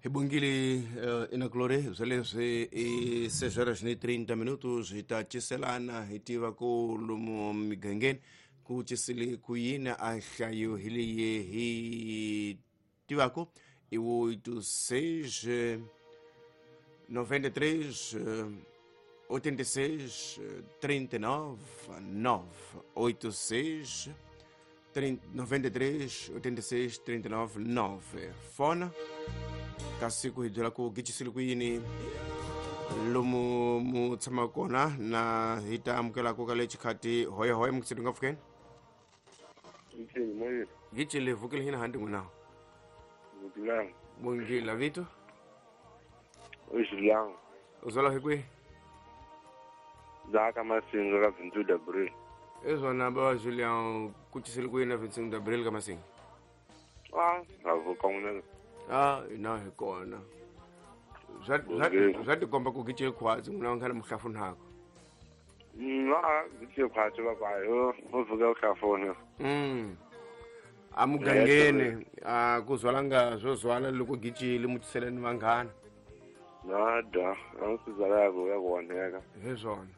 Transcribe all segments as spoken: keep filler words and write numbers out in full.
Hi bongile uh, inakulore sweleswi i seis horas ni trinta minutos hi ta ciselana hi tiva ku lomu migangeni ku cisile ku yini a hlayo hi leyi hi tivako i oito seis noventa e três oitenta e seis trinta e nove nove oito seis noventa e três oitenta e seis trinta e nove nove fona kasi ku hi byela ku gicisile ku yini lomu mu tshama kona na hi ta amukela ku ka le xikhati hoya hoya mukiseti nga pfukeni gicile vukile hina handi n'wina bongila vito u zwala hi kwihi za ka Masinga ka vinte e um de abril ezona ba Julian ku cisile ku yini na vinte e um de abril ka Masinga ah a vuka n'wina ah ina hi kona zwa zwa tikomba ku gicile khwatsi n'wina wa khale muhlafunhako na gicile khwatsi va yo u vuka uhlafuna mm amugangeni a ku zwalanga swo zwala loko gicile mutiseleni vanghana nada a swi zwala ku ya ku onheka hi swona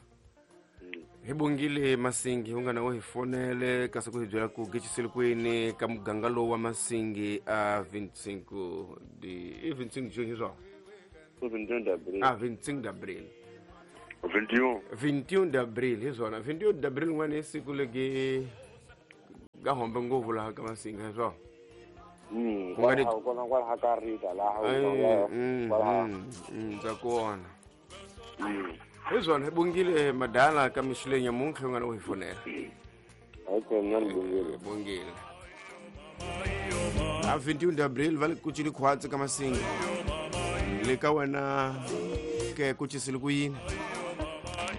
hi bongile Masingi u nga na u hi fonele kasi ku hi byela ku gicisile kwini ka muganga lowu wa Masingi a vinte e cinco de i vinte e cinco de junho hi swona a vinte e cinco de abril vinte e um vinte e um de abril hi swona vinte e um de abril n'wana i siku legi ga hombe ngopfu laha ka Masingi hi swona ndza kona hi swona hi bongile madala ka mixileni ya muntlha u nga na u hi fonela okay bongile a vinte e um de abril va le ku cili khwatsi ka Masingi le ka wena ke ku cisile ku yini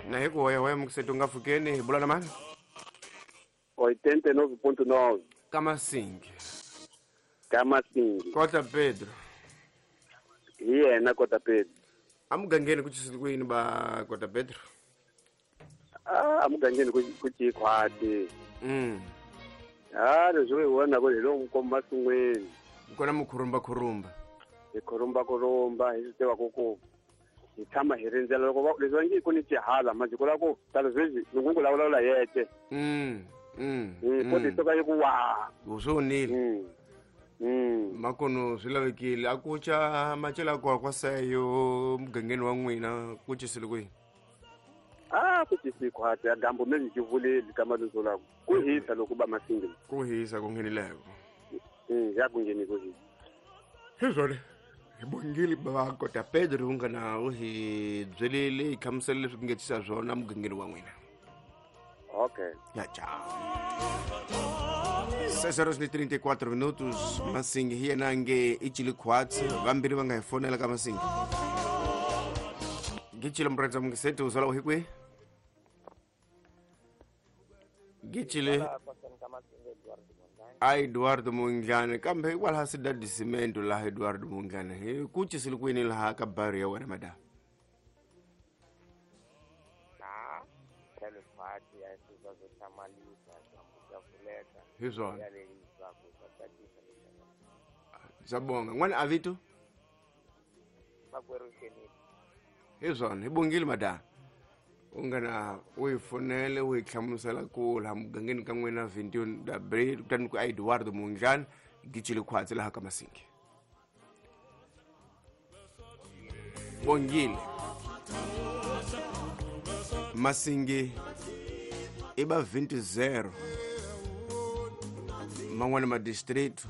na hi ku hoyahoya mukiseti u nga pfukeni hi bula na mani oitenta e nove ponto nove ka Masingi ka Masingi Kota Pedro hi yena Kota Pedro amugangeni ku cisile ku yini ba Kota Pedro ah amugangeni ku ku cikhwati mm ah leswi hi vona ku hi lomu komba sungweni kona mukhurumba khurumba hi khurumba khurumba hi swi tiva ku ku hi tshama hi rindzela loko leswi va nge ku ni xihala manje ku lava ku tala sweswi loko ku vulavula yete mm mm ko ti toka yi ku wa swo onile mm mm makono swi lavekile a ku ca macela kwa kwa seyo mugangeni wa n'wina ku cisile kwihi ah ku cisi khwati a dyambu me ni xivuleli ka maluso lako ku hisa loko ba Masingi ku hisa ku nghenileko mm ya ku ngheni ku hisa hi swona hi bongile ba Kota Pedro u nga na u hi byelile hi hlamusela leswi ku nge cisa swona mugangeni wa n'wina okay ya tchau seis horas e trinta e quatro minutos Masingi hi yena nge i cile khwatsi vambirhi va nga hi fonela ka Masingi gicile murhandza mungiseti u zwala u hi kwihi gicile a Eduardo Mungane kambe hikwalaho Cidade de Cimento laha Eduardo Mungane hi ku cisile kwini laha ka bari ya wena madam hi swona sabonga n'wana a vito hi swona hi bongile madam u nga na u hi fonele u hi hlamusela ku laha mugangeni ka n'wina vinte e um de abril kutani ku a Eduardo Mungane gicile khwatsi laha ka Masingi bongile Masingi i ba vinte e zero man'wana ma district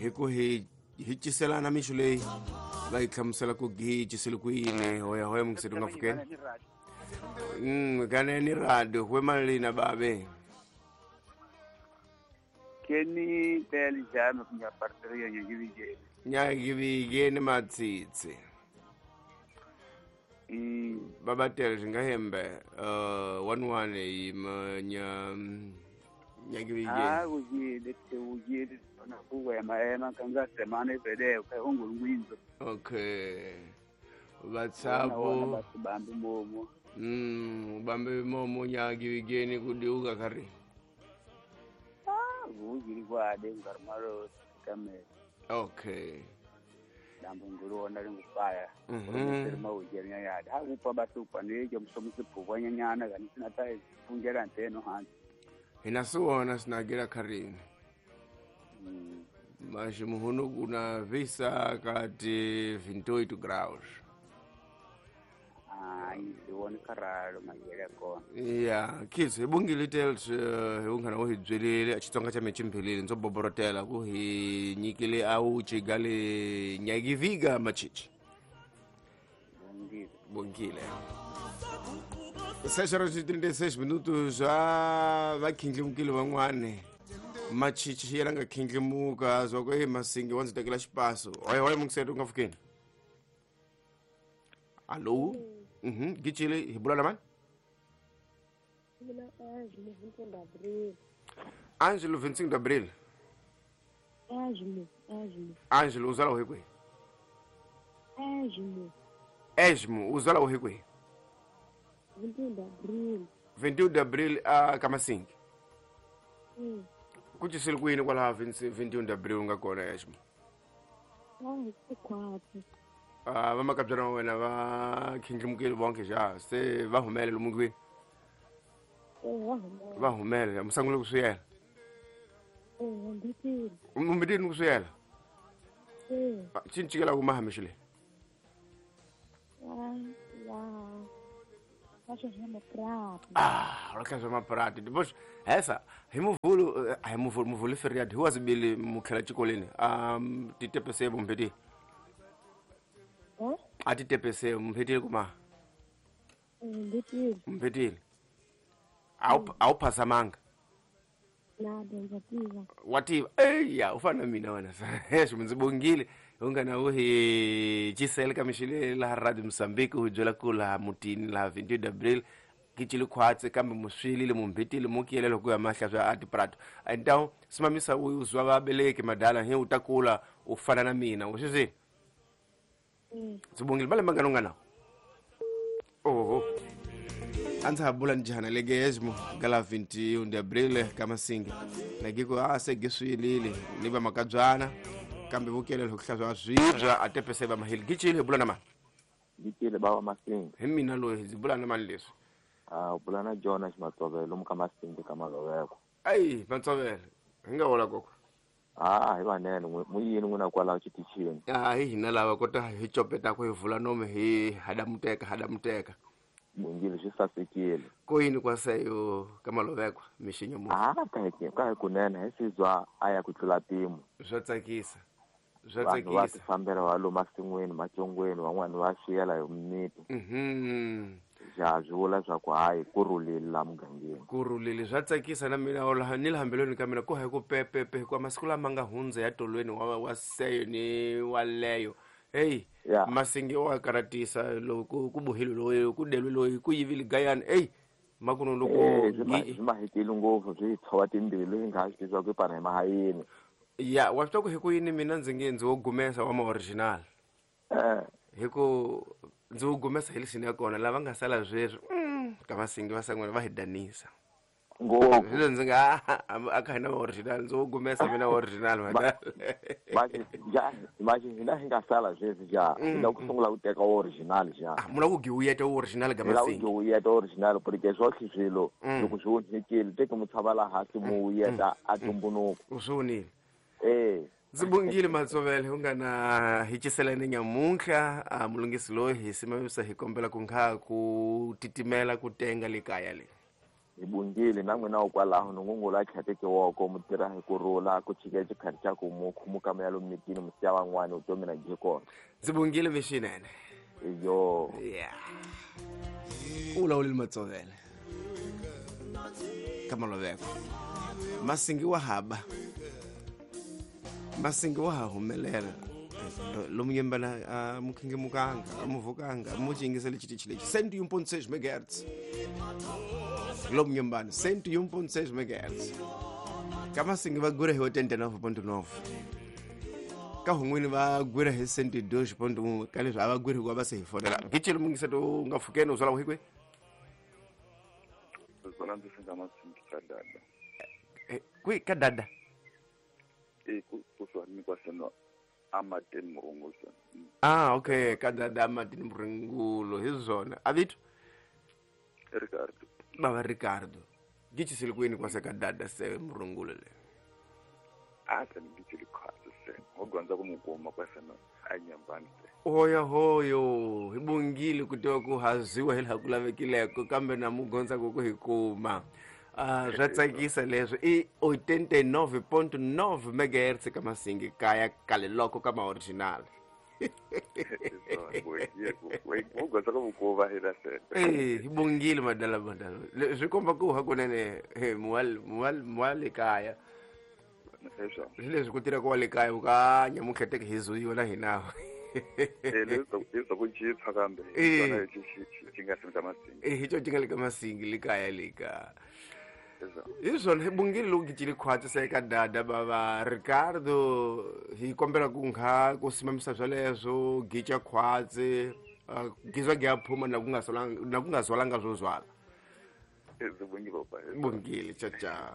hi ku hi hi ciselana mixo leyi va hi hlamusela ku hi cisile ku yini hoya hoya mungiseti u nga pfukeni mm kaneni radio hwe malina babe keni tele jame kunya parteria nyagivigeni nyagivigeni matsitsi mm babatele swi nga hembe uh one one yima nya nyagivigeni ah ujile ujile na kuwema ema kanga semana ipedeo ka ongulwinzo okay vatsapo basibambe momo mm ubambe momo nyagivigeni kudiuka kari ah vujili kwade ngarmalo kamera okay Dambu nguluona lingupaya. Mhm. Mawujeri nyaya. Hakupa basupa nijo msomusiphukwa nyanyana kani sinata fungela nteno hansi. Hina siwona sinagira kharini. Mm. Mas muhunu kuna visa kati vinte e oito graus. Hayi siwona karalo mayele kona. Ya, kids hi bungile tales hi unghana wo hi byelile Xitsonga xa mehe ximphelile ndzo boborotela ku hi nyikile a wu chigale nyakiviga machichi. Bongile. Bongile. seis horas e trinta e seis minutos a va khindlimukile van'wani machichi yena nga khindlimuka zwa ku e masingi wa ndzi tekela xipaso hoye hoye mungiseti u nga pfukeni allo mhm gicile hi bula na mani Mina Ângelo, vinte e um de abril. Ângelo vinte e cinco de abril. Ângelo, Ângelo. Ângelo uzala hi kwihi? Ângelo. Esmo uzala hi kwihi? vinte e um de abril. vinte e um de abril a ka Masingi. Mm. Ku cisile ku yini kwalaha vinte e um de abril u nga kona Esmo? Ah, quatro. Ah, va makabyana wa wena va khindlimukile vonke xa se va humele lomu kwini? Eh, va humele. Va humele mi sungule ku swi yela? Eh, mbitile. Mbitile ku swi yela? Eh. Xi ni cikela ku maha mixo leyi? Ya, ya. Va swa maprati. Ah, va swa maprati. Depois essa hi muvulu, hi muvulu, muvulu feriado hi wazibili mukhela xikolweni. Um titepese mumbheti. Eh? A titepese mumbhetile kuma. Mbitile. Mbitile. Awu awu phasamanga. Na ndza tiva. Wa tiva. Eya, u fana na mina wena. Xi ndzi bongile. U nga na u hi cisele ka mixile laha Radio Mozambique u hi byela ku laha mutini laha vinte e um de abril kicile khwatsi kambe muswilile mumbhitile mukiyele loko ya mahla swa atiprato. Então simamisa u zwa vabeleki madala hi u ta kula u fana na mina u swi swi. Ndzi bongile malembe mangani u nga na? Oho. A ndza ha bula njhani leke esmo ka vinte e um de abril ka Masingi na giko a se giswilile ni va makabyana kambe vukele loko hlaswa swibya a tepese va mahili gicile hi bula na mani? Gicile bava Masingi. Hi mina loyi ndzi bula na mani leswi? Ah, u bula na Jonas Matsovelo lomu ka Masingi ka Maloveko. Ayi Matsovelo hi nga hola koko. Ah, hi vanene mu yini n'wina kwalaho xitichini? Ah, hi hina lava kota hi copeta ku hi vula nomu hi hadamuteka hadamuteka. Bongile swi sasekile. Ko yini kwaseyo ka Maloveko mixinyo mu? Ah, ka hi ka hi kunene hi sizwa a ya ku tlula mpimo. Swa tsakisa. Swa Vanhu va tsakisa. tifambela va lomu masin'wini matsongweni van'wani va swiyela hi mimiti. Mhm. Ja swi vula swa ku hayi ku rhulile laha mugangeni. Ku rhulile swa tsakisa na mina laha ni le hambelweni ka mina ku hayi ku pepepe hikuva masiku lama nga hundza ya tolweni wa wa seyo ni waleyo. Hey, Yeah. Masingi wa karatisa loko ku bohile loyi ku delwe loyi ku yivile gayani hey makuno loko Eh, swi ma swi ma hetile ngopfu swi tshova timbilu hi nga ha swi tivi swa ku pana hi mahayini. Ya, wa swi tiva ku hi ku yini mina ndzi nge ndzi wo gumesa wa ma original. Eh. Hi ku ndzi wo gumesa hi lexini ya kona lava nga sala sweswi mm, ka Masingi va san'wana va hi danisa. Ngopfu. Hi ndzi nga a kha hina original ndzi wo gumesa mina original madala. Manje ja manje hina hi nga sala sweswi ja hi lava ku sungula ku teka original ja. Ah, mu lava ku giwuyeta original ka Hi lava ku Masingi. giwuyeta original porque swotlhe swilo Mm. loko swi onhekile teke mu tshama laha hansi mu wuyeta a tumbuluko. U swi vonile. Eh. Ndzi bongile Matsovele u nga na hi ciselani nyamuntlha a mulungisi loyi hi simamisa hi kombela ku nkha ku titimela ku tenga le kaya le. Hi bongile na n'wina kwalaho ni ngungula tlhateke woko mu tirha hi ku rhula ku chika xikhathi xa ku mu khumuka mu ya lomu mitini mu siya van'wani vutomi na byi kona. Ndzi bongile mixinene. Iyo. Yeah. U vulavulile Matsovele ka Maloveko. Masingi wa haba. Masingi wa ha humelela. Lomu yembana a mukhingemukanga a muvukanga mu xingisele xitichi lexi cento e um ponto seis megahertz. Lomu yembana cento e um ponto seis megahertz. Ka Masingi va gwira hi oitenta e nove ponto nove. Ka hun'wini va gwira hi cento e dois ponto um ka leswi a va gwiri hikuva va se hi fonela. Gicile mungiseto u nga pfukeni u zwala hi kwihi? Zona ndzi singa Masingi ka dada. Eh, kwihi ka dada? Eh, ku kusuhani ni kwaseno amateni murungusa Ah, okay, ka dada Martin Murungulo hi swona. A vito? Ricardo. Baba Ricardo. Gicisile kwini kwase ka dada se Murungulo le. A ta ni gichile khwatsi se. Ho gondza ku mukuma kwase no a nyambani se. Hoya hoyo, hi bongile ku tiva ku haziwa hi laha ku lavekileko kambe na mugondza ku ku hi kuma. Ah, swa tsakisa leswo i oitenta e nove ponto nove megahertz ka Masingi kaya kale loko ka ma original. Eh, hi bongile madala madala. Swi komba ku hakunene he muwal muwal muwale kaya. Leswi ku tirha ku wa le kaya u ka nyamutlheteke hi zuyiwa na hina. Eh, leswi ku chipha kambe hi xi nga simta Masingi. Eh, hi xo xi nga le ka Masingi le kaya le ka. Hi swona hi bongile loko gicile khwatsi se ka dada baba Ricardo hi kombela ku ngha ku simamisa swoleswo gica khwatsi gizwa gi phuma na ku nga solanga na ku nga zwalanga swo zwala. Bongile cha cha.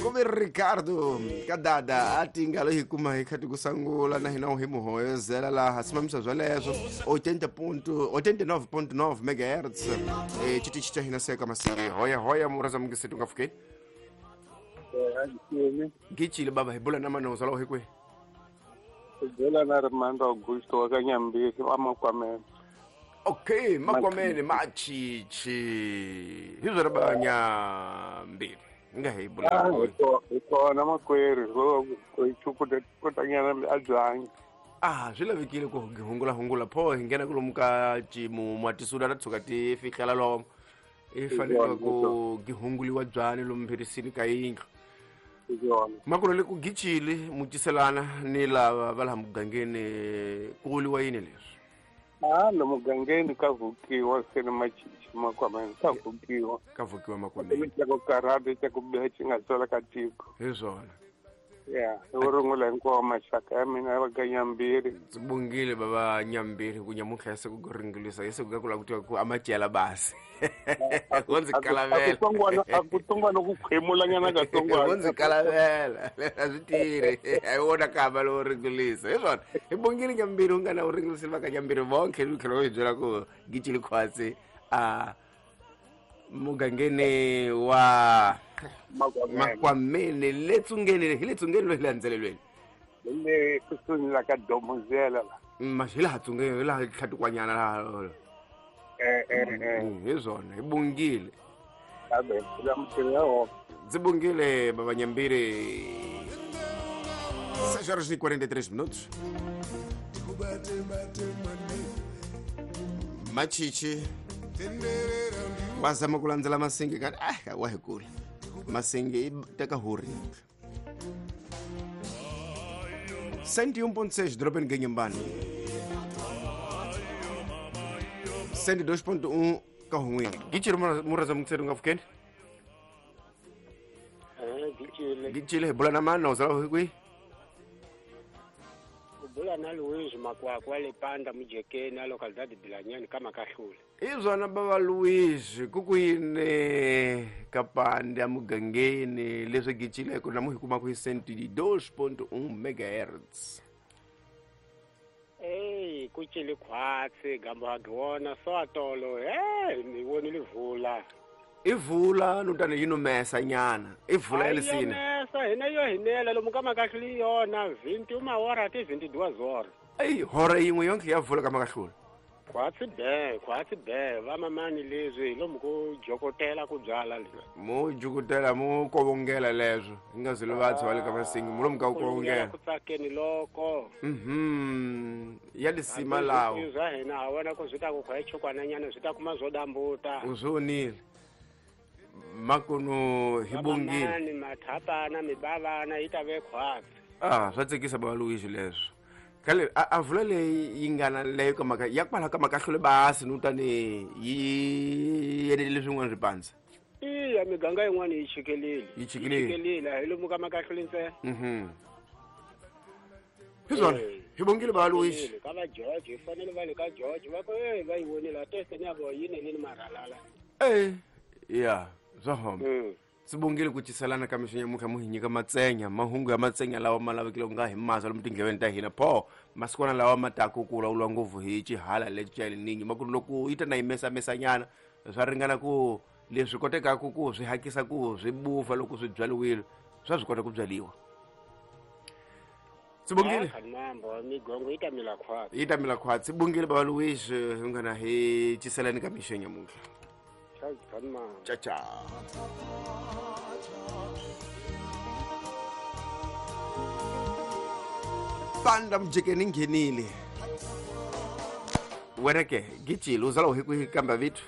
Kuve Ricardo ka dada a tinga lo hi kuma hi khati ku sangula na hina hi muhoyozela laha simamisa swoleswo oitenta ponto oitenta e nove ponto nove megahertz eh chitichi cha hina seka Masingi hoya hoya muraza mungisetu nga fukeni gichile baba hi bula na manoza lo hi kwe bula na Armando Augusto wa ka Nyambisi wa Makwamene. Okay, Makwamene machichi hi zwa ba Nyambisi nga hi bula kona makwerhu ko chukuta kutanyana a byanyi. Ah, swi lavekile ku hungula hungula pho hi nghena kulomu ka ximumu a tisula ta tshuka ti fihlela lomu i fanele ku gihunguliwa byani lomu mphirisini ka yindlu makulo le ku gichile muciselana ni lava va laha mugangeni ku vuriwa yini leswi? Ah, lo mugangeni ka vukiwa se ni machichi Makwamene ka vukiwa ka vukiwa Makwamene ka ku karata ka ku biha xi nga swela ka tiko hi swona. Ya, i rungula hinkwawo maxaka ya mina va ka Nyambiri. Ndzi bongile baba Nyambiri ku nyamuntlha se ku ringulisa hi siku ka ku lava ku tiva ku amacela basi. Wo ndzi kalavela. A ku tsongwana ku khwemulanyana ka tsongwana. Wo ndzi kalavela. A swi tirhi. A hi wona kamba lowo ringulisa. Hi swona. Hi bongile Nyambiri u nga na u ringulisile va ka Nyambiri vonke ni tlhela u hi byela ku gicile khwatsi a mugangeni wa Makwamene le tsungeni hi le tsungeni lo hi landzelelweni le kusuhi la ka Domozela la ma hi laha tsungeni hi laha tlhatikwanyana laha eh eh eh hi swona hi bongile abe la mutiri ya ho ndzi bongile baba Nyambiri. seis horas e quarenta e três minutos. Machichi wa zama ku landzela Masingi ka ah wa hi kula Masingi i teka huri cento e um ponto seis Dropem Ganhambane cento e dois ponto um Kahunwini Gichile muraza mukseru nga fukeni Eh gichile Gichile bula na mana uzala hikwi Bula na Luiz Makwakwa le panda mujekeni a localidade de Bilanyani kama kahlula. Izwana baba Luiz kukwine kapande amugangeni leswi gichileko na muhikuma ku cento e dois ponto um megahertz. Ey kuchile khwatsi gambo hagiwona so atolo eh ni wonile vula. Ivula nutane yinumesa nyana ivula elisini mesa hina yo hinela lomu ka makahluli yona vinte uma hora te vinte e duas horas. Ey hora yin'we yonke ya vula ka makahluli khwatsi be khwatsi be va mamani leswi lomu ku jokotela ku byala le mo jokotela mo kovongela leswo hi nga zilo va tswa le ka Masingi mo lomu ka ku kovongela ku tsakeni loko mhm ya lisima lawo zwa hina ha wona ku zwi ta ku khwaye chokwananyana zwi ta kuma zwo dambuta uzonile makuno hi bongile mathapana mibavana yi ta ve khwatsi. Ah swa tsekisa baba Luiz leswo khale a vula leyi yi nga na leyo ka maka ya kwala ka makahlule basi no tani yi yenele leswin'wana swi pandza. Iya miganga yin'wana yi chikelile yi chikelile hi lomu ka makahlule ntsena. Mhm hi swona hi bongile baba Luiz ka va George hi fanele va le ka George va ku eh va yi vonile a teste ni ya vo yineleni marhalala eh ya zwa home. Sibongile ku ciselana ka mixo nyamuntlha mu hi nyika matsenya mahungu ya matsenya lawa ma lavekile ku nga hi masa lomu tindleveni ta hina pho masikwana lawa ma taku ku vulavuriwa ngopfu hi xihala lexi xa El Niño ma ku ri loko yi ta na yi mesamesanyana swa ringana ku leswi kotekaku ku swi hakisa ku swi bufa loko swi byariwile swa swi kota ku byariwa. Sibongile mambo migongo yi ta mila khwatsi yi ta mila khwatsi. Sibongile baba Louis hi ngana hi ciselani ka mixo nyamuntlha. Ciao ciao. Panda mjekeni nghenile. Wena ke gijila uzala hi kwihi kamba vitu?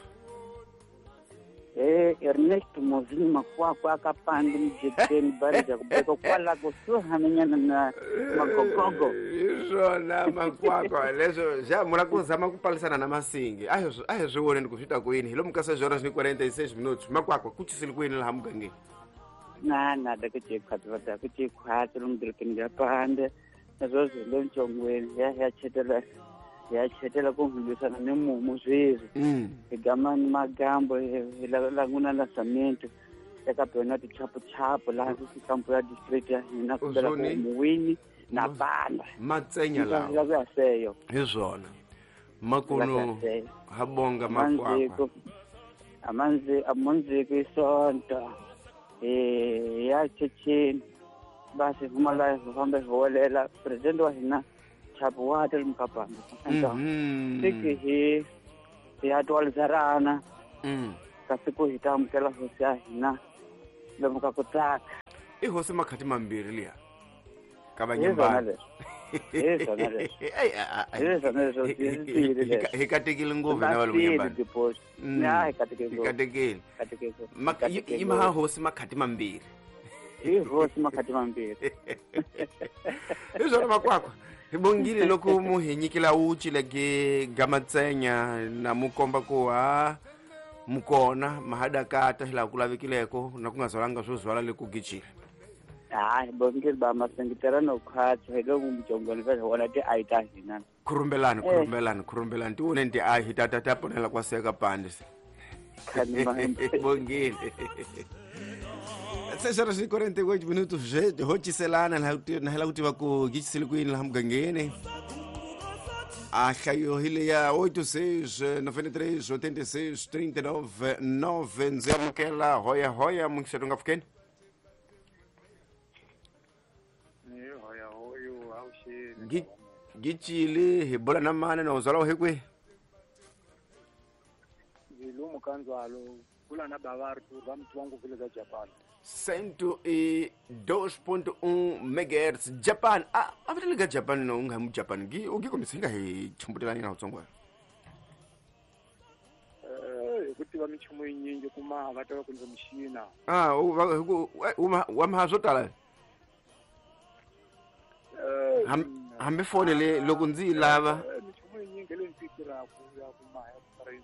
Eh Ernesto Mozini Makwakwa ka panda mjekeni bari ja kubeka kwala kusuhana na magogogo. Izona makwakwa leswo ja mula ku zama ku palisana na masingi. A hi a hi swi voneni ku swi ta ku yini hi lomu ka seis horas ni quarenta e seis minutos. Makwakwa ku cisile ku yini laha mugangeni? Na na da ku ce khwatsi va da ku ce khwatsi lomu dorobeni ra panda. Naswona le ntsongweni ya ya chetela ya chetela ku lwisana ni mumu sweswi hi gama ni magambo hi languna la cement eka byona tichapuchapu laha kampo ya district ya hina ku bela ku muwini na panda matsenya lawa la ku ya seyo hi swona makuno ha bonga makwakwa amanzi amanzi isonto eh ya checheni basi huma la fambe holela president wa hina chapu wa tel mkapanda siki hi ya twalizarana mm kasi ku hi ta amukela hosi ya hina lomu ka ku tsaka i hosi makhati mambirhi liya ka vanyambana hi katekile ngopfu na valungu nyambana hi katekile yi maha hosi makhati mambirhi i hosi makhati mambirhi hi swona makwakwa hi bongile loko mu hi nyikela uchi leke gamatsenya na mu komba ku ha mukona mahadakata hi laha ku lavekileko na ku nga zwalanga swo zwala le ku gijile. Hayi bongile ba masengitela no khwatsi hi lomu mujongweni va wona ti ayi ta hina khurumbelani khurumbelani khurumbelani ti voneni ti ayi hi ta ta ta ponela kwa seka pande bongile. Seis horas e quarenta e oito minutos ho ciselana na hela ku tiva ku gicisile ku yini laha mugangeni. A hlayo hi leya oito seis nove três oitenta e seis trinta e nove nove ndzi amukela hoya hoya munxeto nga pfukeni. Gicile hi bula na mani na uzala hi kwihi? Lomu ka ndzwalo bula na bava Arthur va muti wa ngopfu le ka Japan. cento e dois ponto um megahertz Japan. A a vitele ka Japan no nga mu Japan gi u gi kombisa nga hi chumbutelani na utsongwana. Eh ku tiva michumu yinyingi kuma va tava ku ndzi muxina. Ah u va wa ma swo tala. Hambi fone le loko ndzi yi lava michumu yinyingi leyi ndzi yi tirhaka ya kuma ya ku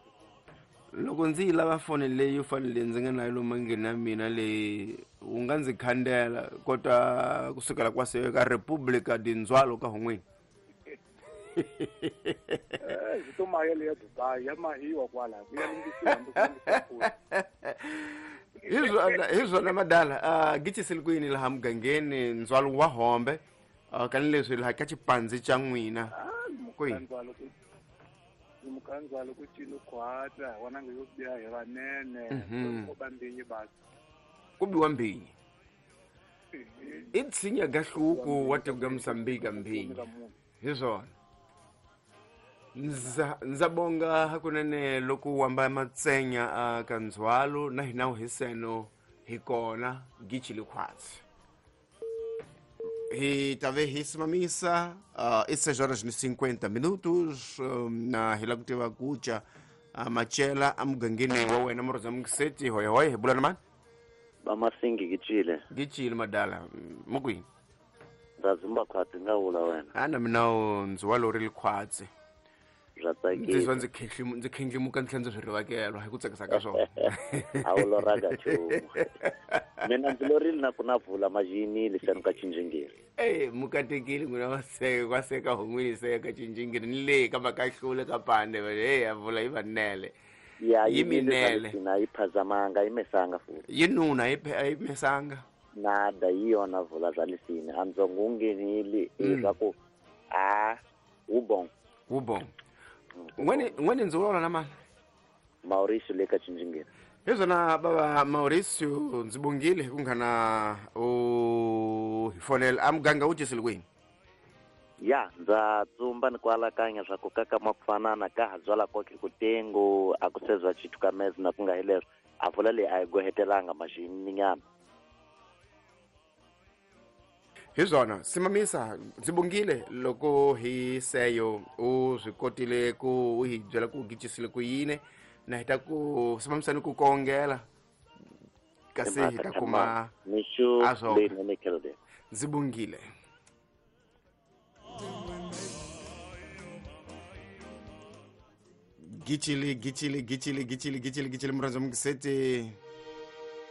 loko ndzi yi lava foni leyi yo fanele ndzi nga nayo lomu nghena mina leyi wu nga ndzi khandela kota kusukela kwase ka Republica di Ndzwalo ka hon'wini. Eh to mayele ya Dubai ya mahiwa kwala ya lungisiwa hambi ku lungisiwa. Hi swona hi swona madala a gicisile ku yini laha mugangeni Ndzwalo wa hombe kani leswi laha ka xipandzi xa n'wina kwihi mukanzalo ku cino khwatsa wona nga yo biha hi vanene ko ba mbinyi basi ku biwa mbinyi i tshinya gahluku wa tekuga Mozambique mbinyi hi swona ndza ndza bonga hakunene loko u amba matsenya a ka ndzwalo na hina hi seno hi kona gichile khwatsi hi tave hi simamisa uh, seis horas e cinquenta minutos um, na hi lava ku tiva ku ca uh, macela emugangeni wa wena murhandza mungiseti hoya hoya hi bula na mani Vamasingi gicile gicile madala mukwini ndza dzumba khwatsi nga vula wena a na mina ndzi wa lorile khwatsi bya tsakisa ndzi zwa ndzi khehlimu ndzi khendlimuka ndzi tlhela ndzi swi rivakelwa hi ku tsakisa ka swona a wu loranga nchumu mina ndzi lorile na ku na vula majinile xanu ka cinjingiri e mukatekile n'wina wa seka wa seka hon'wini seka cinjingiri ni le ka makahlule ka pande e ya vula yi vanele Ya yi minele na yi phazamanga yi mesanga futhi yi nuna yi yi mesanga nada yi yona vula bya lisini a ndzongo wu nghenile leswaku a wu bon wu bon n'wini n'wini ndzi vulavula na mani Mauricio le ka Cinjingeni hi swona bava Mauricio ndzi bongile ku nghana u hi fonela a muganga wu cisile kwini ya ndza tsumba ni ku alakanya swa ku kaka ma ku fanana ka ha byala koke kutengo a ku sezwa chithu ka mezi na ku nga hi leswo a vula leyi a yi gohetelanga maxininyana hi swona simamisa ndzi bongile loko hi seyo u swi kotile ku u hi byela ku gicisile ku yini na hi ta ku simamisa ni ku kongela kasi hi ta kuma mixo leyinene kelde ndzi bongile Gichili, gichili, gichili, gichili, gichili, gichili, murandza mukisete.